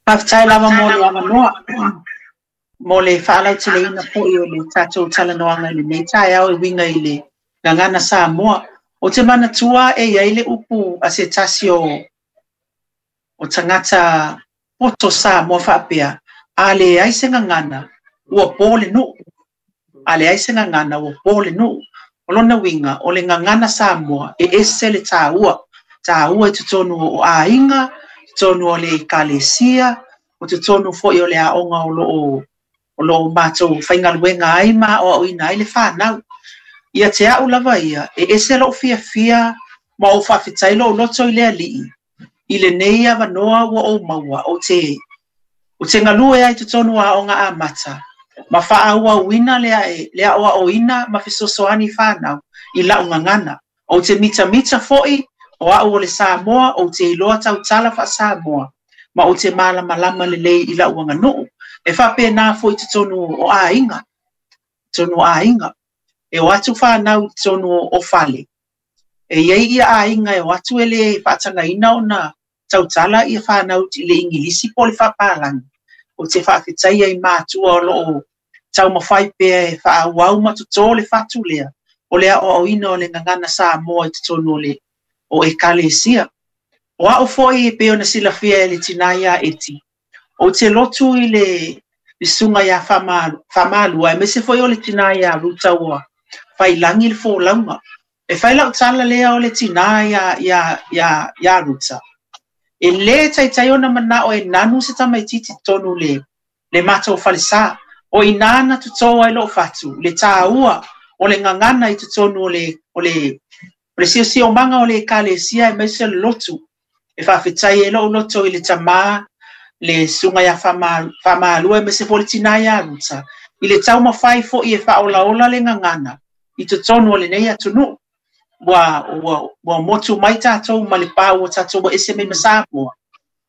Faafetai lava mo le avanoa mo le faalauteleina foi o le tatou talanoaga i lenei taeao e uiga i le gagana Samoa. Ou te manatua e i ai le upu a se tasi o tagata poto Samoa faapea, a leai se gagana, ua po le nuu. A leai se gagana, ua po le nuu. O lona uiga, o le gagana Samoa e ese le taua, taua i totonu o aiga, totonu o le ekalesia, o totonu foi o le aoga o lo o matou faigaluega ai ma aoaoina ai le fanau. Ia te au lava ia, e ese lou fiafia ma ou faafetai lou loto i le Alii i lenei avanoa ua ou maua ou te galue ai totonu o aoga amata ma faaauauina le aoaoina ma fesoasoani fanau i lau gagana. Ou te mitamita foi o au o le Samoa, ou te iloa tautala faa-Samoa ma ou te malamalama lelei i lau aganuu. E faapena foi totonu o aiga, totonu o aiga. E o atu fanau i totonu o fale. E i ai ia aiga e o atu e le faatagaina ona tautala ia fanau i le Igilisi po o le faapalagi. Ou te faafetaia i matua o loo taumafai pea e faaauau ma toto le fatu lea o le aoaoina o le gagana Samoa i totonu o ekalesia. O au foi e pei ona silafia e le tina ia Eti, ou te lotu i le susuga ia Faamalua, aemaise foi o le tina ia Ruta ua faiilagi le folauga. E fai lau tala lea o le tina ia Ruta. E lē taitai ona manao e nanu se tamaititi totonu le matou falesa. O ina na totō ai lou fatu, le taua o le gagana i totonu o le siosiomaga o le ekalesia aemaise o le lotu. E faafetai ai lou loto i le tamā, le susuga ia Faamalua aemaise foi le tina ia Ruta, i le taumafai foi e faaolaola le gagana i totonu o lenei atunuu. Ua motu mai tatou ma le pa ua tatou ua ese mai ma Samoa,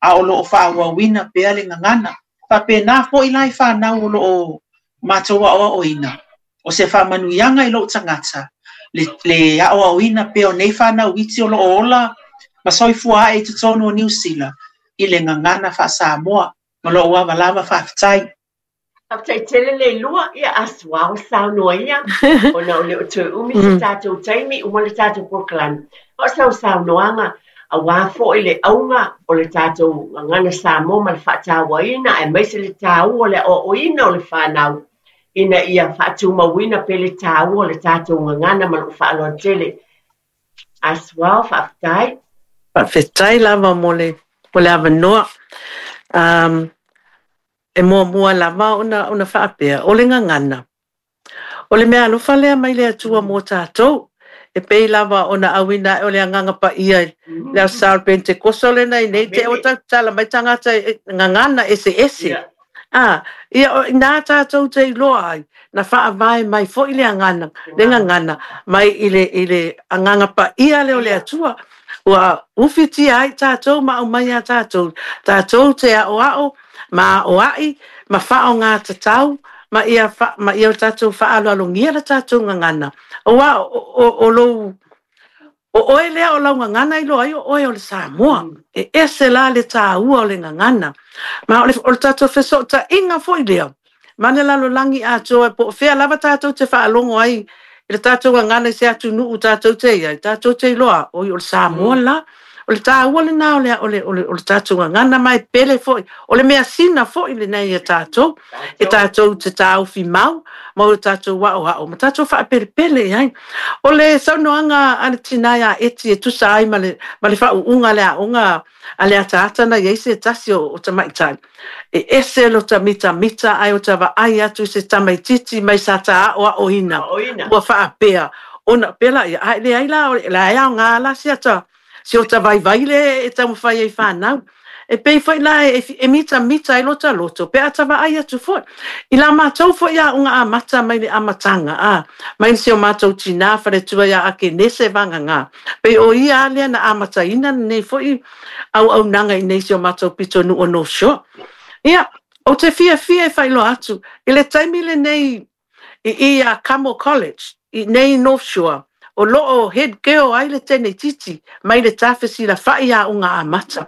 a o loo faaauauina pea le gagana. Faapena foi la i fanau o loo matou aoaoina. O se faamanuiaga i lou tagata, le aoaoina pea o nei fanau iti o loo ola ma soifua ae i totonu o Niu Sila i le gagana faa-Samoa. Ma lou ava lava, faafetai. Faafetai tele le lua ia asuao saunoa ia ona o le o toe umi se tatou taimi uma le tatou polokalame. O sau saunoaga auā foi le auga o le tatou gagana Samoa ma le faatauaina aemaise le taua o le aoaoina o le fanau ina ia faatumauina pea le taua o le tatou gagana ma lou faaaloalo tele. Asuao, faafetai. Faafetai lava mo le avanoa. E muamua lava ona faapea, o le gagana. O le mea alofa lea mai le Atua mo tatou. E pei lava ona auina o le Agaga Paia le aso Sa o le Penetekoso lena i nei te o tautala mai tagata gagana ese ese. Ah, ia nā tātou te iloa ai, na faavae mai foi le agana, le gagana, mai i le Agaga Paia lea o le Atua. Ua ufitia ai tātou ma au mai a tātou. Tātou te ao ao, ma o ai, ma whao ngā tatau, ma ia, ma ia o tātou whaaloalongia la tātou gagana. O wa, o lou, o oe lea o lau gagana i loa ai o oe o le Samoa. E ese la le tāua o le gagana. Ma o le tātou fesootaiga foi lea. Ma le lalolagi atoa po o fea lava tātou te faalogo ai i le tātou gagana i se atunuu tātou te iai, tātou te iloa, oi o le Samoa la. O le tāua lena o le tātou gagana mai pele foi. O le measina foi lenei ia tātou. E tātou te tāufi mau, ma o tātou wao hao, ma tātou whaapelepele i ai. O le saunoaga a le tina ia Eti e tusa ai ma le faauuga le aoga a le ataata na i ai se tasi o tamaitai. E ese lo ta mitamita ai o ta vaai atu i se tamaititi mai sa ta aoaoina. Aoina. Ua faapea. Ona pela ia, ai le ai la, la e ao ngā la si ata, si o ta vaivai le e taumafai ai whanau. E pei foi la e mitamita ai lota loto, pe ata vaai atu foi. I la mātou foi a unga amata mai le amatanga, a, mai se o mātou tina wharetua ia ake nese vanga ngā. Pe o ia alea na amataina nei foi au au nanga i nei se o mātou pito nu o North Shore. Ia, o te fiafia e whailoa atu, i le taimi le nei i a Kamo College, i nei North Shore, o loo head girl ai le tamaititi, mai le tafesi la whai a unga amata.